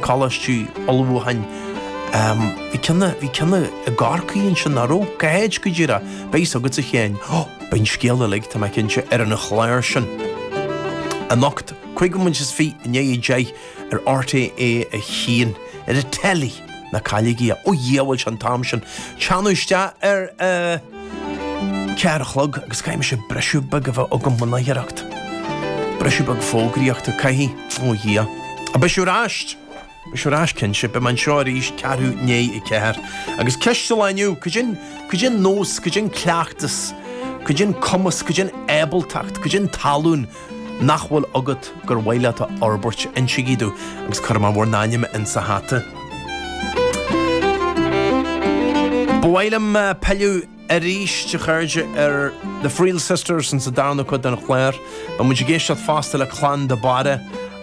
Coláistí ullmhúcháin. Bhí ceann, bhí ceann i gCorcaigh ansin, nach raibh? Cá háit go díreach? Beidh fhios agatsa a Sheáin. Ó, beidh an scéal uilig, tá mé cinnte, ar an chlár sin. Anocht, 25 bomaite i ndiaidh 10 ar RTÉ 1, ar an teilí, ná cailligí é. Ó Dhia, bhfuil sé an t-am sin. Teannadh isteach ar a ceathair a chlog agus caithfidh mise briseadh beag a bheith agam mo náireacht. Briseadh beag fógraíochta, caithfidh. Ó Dhia. Ach beidh sé ar ais! Beidh sé ar ais cinnte. Beidh mé anseo arís ceathrú i ndiaidh a ceathair. Agus ceist an lae inniu, cad é an, cad é an nós, cad é an cleachtas, cad é an cumas, cad é an ábaltacht, cad é an tallann nach bhfuil agat gur mhaith leat a fhorbairt, insígí domh agus cuirfidh mé bhur n-ainm insa hata. Ba mhaith liom pilleadh arís, a chairde, ar The Friel Sisters insa darna cuid den chlár. Beidh muid ag éisteacht fosta le Clann de Barra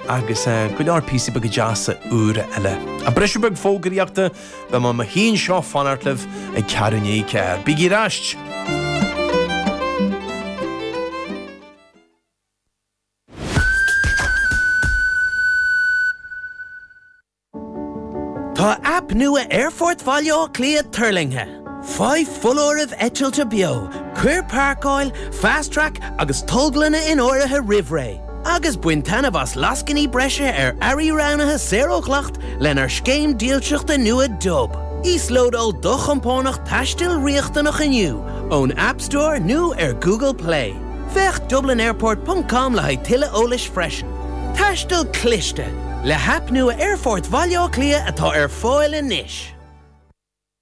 agus go leor píosaí beaga deasa úra eile. Ach briseadh beag fógraíochta, beidh mé i mo shuí anseo ag fanacht libh ag ceathrú i ndiaidh a ceathair. Bígí ar ais! Tá aip nua Aerfort Bhaile Átha Cliath tuirlingthe. Faigh foláirimh eitilte beo, cuir páirceáil, Fast Track agus tolglanna in áirithe roimh ré, agus bain taitneamh as lascainí breise ar earraí roghnaithe saor ó dhleacht lenár scéim dílseachta nua Dub. Íoslódáil do chompánach taistil riachtanach inniu ón App Store nó ar Google Play. Féach dublinairport ponc com le haghaidh tuilleadh eolais freisin. Taisteal cliste! Le haip nua Aerfort Bhaile Átha Cliath atá ar fáil anois!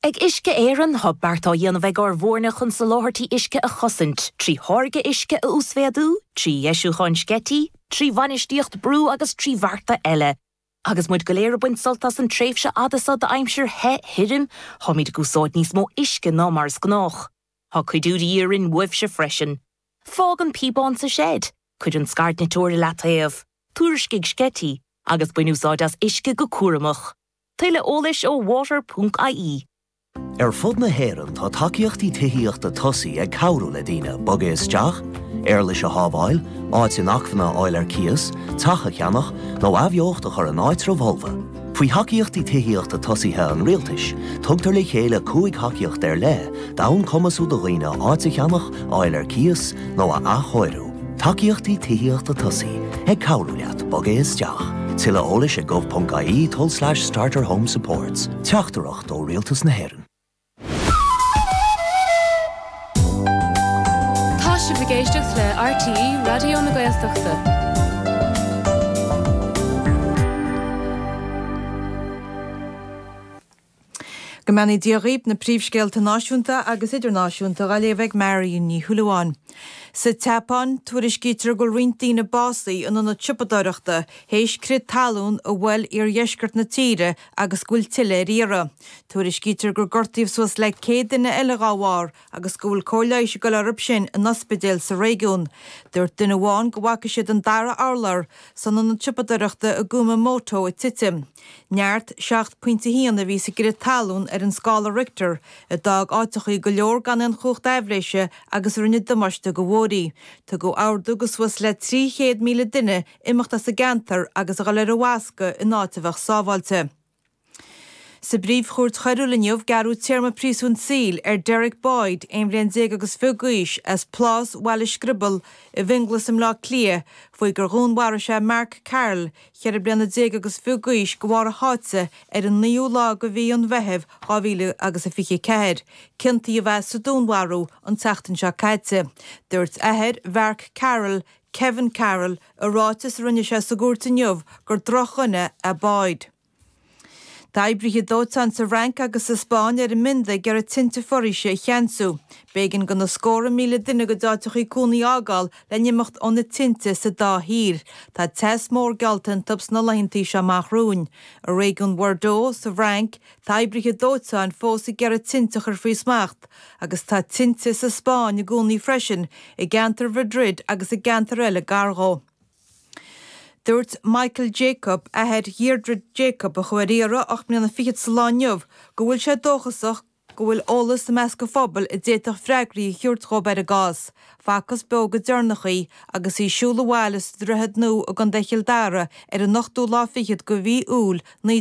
Ag Uisce Éireann, tá beart á dhéanamh ag ár bhfoirne chun soláthairtí uisce a chosaint, trí tháirgeadh uisce a uasmhéadú, trí dheisiúcháin sceití, trí bhainistíocht brú agus trí bhearta eile. Agus muid go léir ag baint sult as an tréimhse fhada seo d'aimsir the thirim, táimid ag úsáid níos mó uisce ná mar is gnách. Tá cuidiú de dhíth orainn uaibhse freisin. Fág an píobán sa seid, cuir an scairdniteoir i leataobh, tuairiscigh sceití, agus bain úsáid as uisce go cúramach. Tuilleadh eolais ó water ponc ie. Ar fud na hÉireann tá tacaíochtaí tithíochta tosaigh ag cabhrú le daoine bogadh isteach, éarlais a shábháil, áit inacmhainne a fháil ar cíos, teach a cheannach, nó athbheocht a chur in áitreabh fholmha. Faoi Thacaíochtaí Tithíochta Tosaithe an Rialtais, tugtar le chéile 5 thacaíocht ar leith d'fhonn cumasú do dhaoine áit a cheannach, a fháil ar cíos nó a athchóiriú. Tacaíochtaí Tithíochta Tosaigh, ag cabhrú leat bogadh isteach. Tuilleadh eolais ag gov.ie tulslais starter home supports. Teachtaireacht ó Rialtas na hÉireann. Tá sibh ag éisteacht le RTÉ Raidió na Gaeltachta. Go mbeannaí Dia dhaoib, na príomhscéalta náisiúnta agus idirnáisiúnta dhá léamh ag Marion Ní Shúilleabháin. Sa tSeapáin, tuairiscítear go bhfuil roinnt daoine básaithe in ionad siopadóireachta théis crith talún a bhuail iardheisceart na tíre agus go bhfuil tuilleadh ar iarraidh. Tuairiscítear gur gortaíodh suas le 100 duine eile dhá bharr agus go bhfuil cóir leighis ag dul orthu sin in ospidéil sa réigiún. Dúirt duine amháin go bhfaca siad an dara urlár san ionad siopadóireachta i gKumamoto ag titim. Neart 7.1 a bhí sa gcrith talún ar an scála Richter, a d'fhág áiteachaí go leor gan aon chumhacht aibhléise agus a rinne damáiste do bhóithrí. Tugadh ordú do suas le 300,000 duine imeacht as an gceantar agus a dhul ar an bhfoscadh in áit a bheadh sábháilte. Sa bPríomh-Chúirt Choiriúil inniu, gearradh téarma príosúin saoil ar Derek Boyd, 11 bhliain agus fiche d'aois, as Plás Bhaile Screbill i bhFionnghlas i mBleá Cliath, faoi gur dhúnmharaigh sé Mark Carroll, 14 bliana agus fiche d'aois, de bharr a sháite ar an naoú lá de mhí an Mheithimh 2024. Ciontaíodh é sa dúnmharú an tseachtain seo caite. Dúirt athair Mhark Carroll, Kevin Carroll, i ráiteas a rinne sé sa gcúirt inniu gur drochdhuine é Boyd. Tá oibrithe dóiteáin sa Fhrainc agus sa Spáinn ar a mbionda ag iarraidh tinte foraoise a cheansú. B'éigean do na scórtha míle duine a gcuid áiteachaí cónaí a fhágáil le n-imeacht ó na tinte sa dá thír. Tá teas mór geallta iontu sna laethantaí seo amach romhainn. I réigiún Bhordeaux sa bhFrainc, tá oibrithe dóiteáin fós ag iarraidh tinte a chur faoi smacht agus tá tinte sa Spáinn i gcónaí freisin, i gceantar Mhadrid agus i gceantair eile gar dhó. Dúirt Michael Jacob, athair Dheirdre Jacob, a chuaigh ar iarraidh 8 mbliana fichead sa lá inniu, go bhfuil sé dóchasach go bhfuil eolas i measc an phobail a d'fhéadfadh freagraí a thabhairt dhóibh ar an gcás. Facthas beo go deireanach í agus í ag siúl abhaile sa Droichead Nua i gContae Chill Dara ar an ochtú lá fichead de mhí Iúil 19.